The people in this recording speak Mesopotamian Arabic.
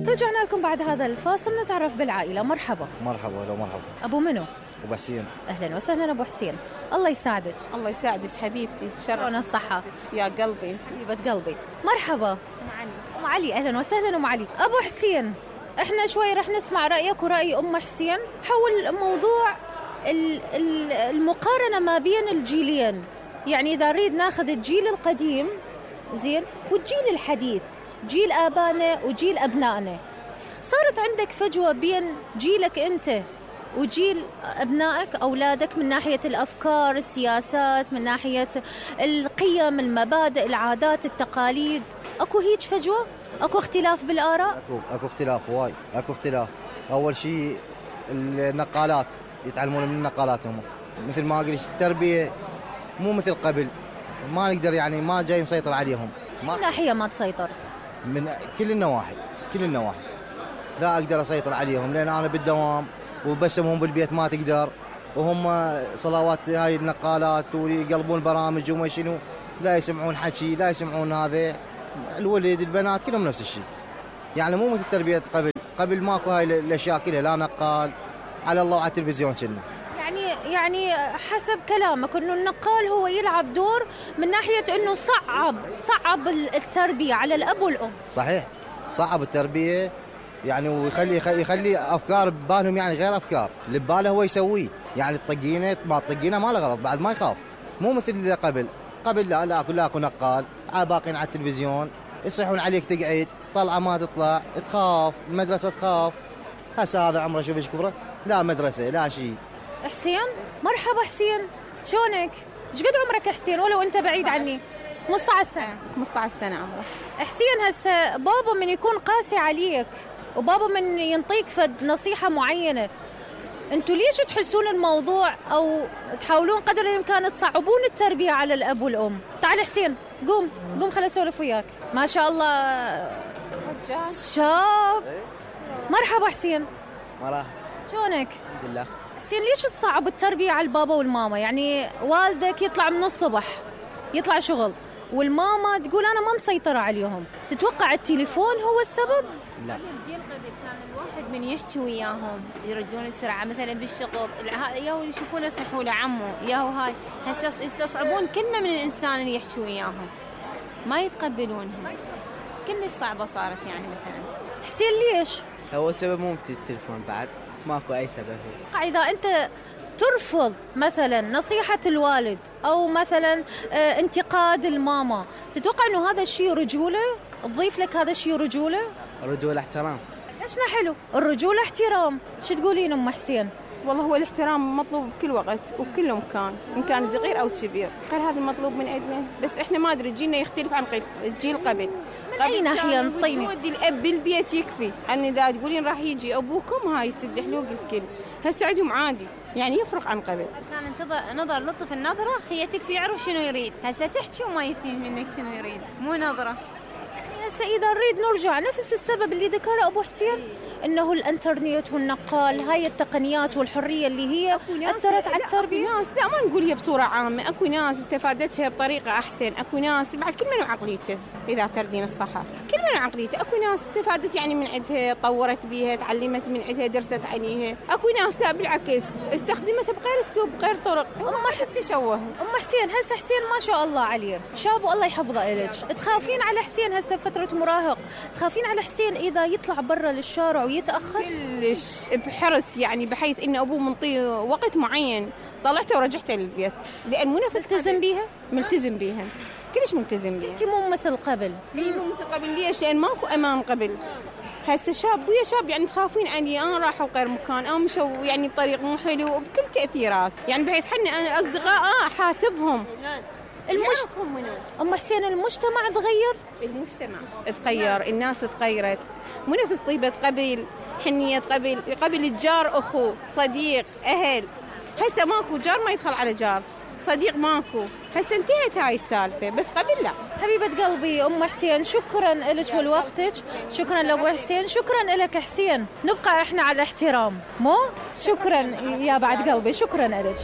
رجعنا لكم بعد هذا الفاصل نتعرف بالعائلة. مرحبا. مرحبا. لو مرحبا. أبو منو؟ أبو حسين. أهلا وسهلا أبو حسين. الله يساعدك. الله يساعدك حبيبتي. شلون الصحة؟ يا قلبي. طيبة قلبي. مرحبا. أم علي. أهلا وسهلا أم علي. أبو حسين، إحنا شوي رح نسمع رأيك ورأي أم حسين حول موضوع المقارنة ما بين الجيلين. يعني إذا نريد ناخذ الجيل القديم زين والجيل الحديث، جيل آبائنا وجيل أبنائنا، صارت عندك فجوة بين جيلك أنت وجيل أبنائك أولادك من ناحية الأفكار، السياسات، من ناحية القيم، المبادئ، العادات، التقاليد؟ أكو هيج فجوة؟ أكو اختلاف بالآراء؟ أكو اختلاف وايد، أكو اختلاف. أول شيء النقالات، يتعلمون من النقالات هم، مثل ما قلت التربية مو مثل قبل، ما نقدر يعني ما جاي نسيطر عليهم. من ناحية ما تسيطر؟ من كل النواحي، كل النواحي لا أقدر أسيطر عليهم، لأن أنا بالدوام وبسمهم بالبيت ما تقدر، وهم صلوات هاي النقالات ويقلبون برامج وما شنو، لا يسمعون حكي، لا يسمعون هذا. الولد البنات كلهم نفس الشيء، يعني مو مثل تربية قبل ماكو هاي الأشياء كلها، لا نقال على الله وعلى التلفزيون كنا. يعني حسب كلامك انه النقال هو يلعب دور من ناحية انه صعب التربية على الاب والام. صحيح، صعب التربية يعني، ويخلي افكار ببالهم يعني غير افكار اللي بباله هو يسويه، يعني الطقينه ما تطقينه ما له غلط، بعد ما يخاف، مو مثل اللي قبل لا اكو نقال باقين على التلفزيون يصيحون عليك تقعد، طلعه ما تطلع، تخاف، المدرسه تخاف. هسه هذا عمره شوف ايش كبره، لا مدرسه لا شيء. حسين، مرحبا حسين، شلونك؟ ايش قد عمرك حسين ولو انت بعيد عني؟ 15 سنه. 15 سنه عمره. حسين، هسه بابا من يكون قاسي عليك وبابا من ينطيك فد نصيحه معينه، انتوا ليش تحسون الموضوع او تحاولون قدر الامكان تصعبون التربيه على الاب والام؟ تعال حسين، قوم خليني اسولف وياك. ما شاء الله رجال شاب. مرحبا حسين. مرحبا. شلونك؟ الحمد لله. حسين، ليش تصعب التربيه على البابا والماما؟ يعني والدك يطلع من الصبح يطلع شغل والماما تقول انا ما مسيطره عليهم، تتوقع التليفون هو السبب؟ لا، الجيل قبل كان الواحد من يحكي وياهم يردون بسرعه، مثلا بالشغل ياهو يشوفونه سحوله عمو ياهو هاي، هسه يستصعبون كلمه من الانسان اللي يحكي وياهم، ما يتقبلونها، كل صعبه صارت يعني. مثلا حسين ليش؟ هو السبب مو التليفون، بعد ماكو اي سبب. اذا انت ترفض مثلا نصيحة الوالد أو مثلا انتقاد الماما، تتوقع أنه هذا الشيء رجولة؟ تضيف لك هذا الشيء رجولة؟ رجولة احترام. ليشنا حلو الرجولة احترام. شو تقولين أم حسين؟ والله هو الاحترام مطلوب بكل وقت وبكل مكان، إن كان صغير أو كبير، غير هذا المطلوب من عندنا. بس إحنا ما أدري جيلنا يختلف عن الجيل قبل. من أي ناحية نطيني؟ وجود الأب بالبيت يكفي، أن إذا تقولين راح يجي أبوكم هاي يسد حلوق الكل، هسه عندهم عادي، يعني يفرق عن قبل. كان نظر لطف النظرة هي تكفي يعرف شنو يريد، هسه تحكي وما يفهم منك شنو يريد، مو نظرة. يعني هسه إذا نريد نرجع نفس السبب اللي ذكره أبو حسين، إنه الإنترنت والنقال، هاي التقنيات والحرية اللي هي أثرت على التربية. أكو ناس، لا ما نقول هي بصورة عامة، أكو ناس استفادتها بطريقة أحسن، أكو ناس بعد كل من عقليته إذا تردين الصحة، كل من عقليته. أكو ناس استفادت يعني من عندها، طورت بيها، تعلمت من عندها، درست عليها. أكو ناس لا بالعكس استخدمتها بغير أسلوب بغير طرق، ما حد تشوه. أم حسين، هسه حسين ما شاء الله عليه شاب والله يحفظه إلك، تخافين على حسين هسه فترة مراهق؟ تخافين على حسين إذا يطلع برا للشارع ويتأخر؟ كلش بحرص، يعني بحيث إن أبوه منطيه وقت معين طلعته ورجعته للبيت، لأن مو نفس ملتزم بيها؟ ملتزم بيها، كلش ملتزم بيها. أنت مو مثل قبل. مو مثل قبل. ليش؟ لأن ماكو أمان قبل. هسه شاب ويا شاب يعني تخافين عني، أنا راحوا غير مكان أو مشوا يعني بطريق مو حلو وبكل تأثيرات، يعني بحيث حنا أنا أصدقاء حاسبهم. أم حسين، المجتمع تغير؟ المجتمع تغير، الناس تغيرت، مو نفس طيبة قبل، حنية قبل الجار أخو صديق أهل. هسه ماكو جار ما يدخل على جار، صديق ماكو، هسه انتهت هاي السالفة، بس قبل لا. حبيبة قلبي أم حسين، شكرا لك ولوقتك، شكرا لأبو حسين، شكرا لك حسين. نبقى إحنا على الاحترام، مو شكرا يا بعد قلبي، شكرا لك.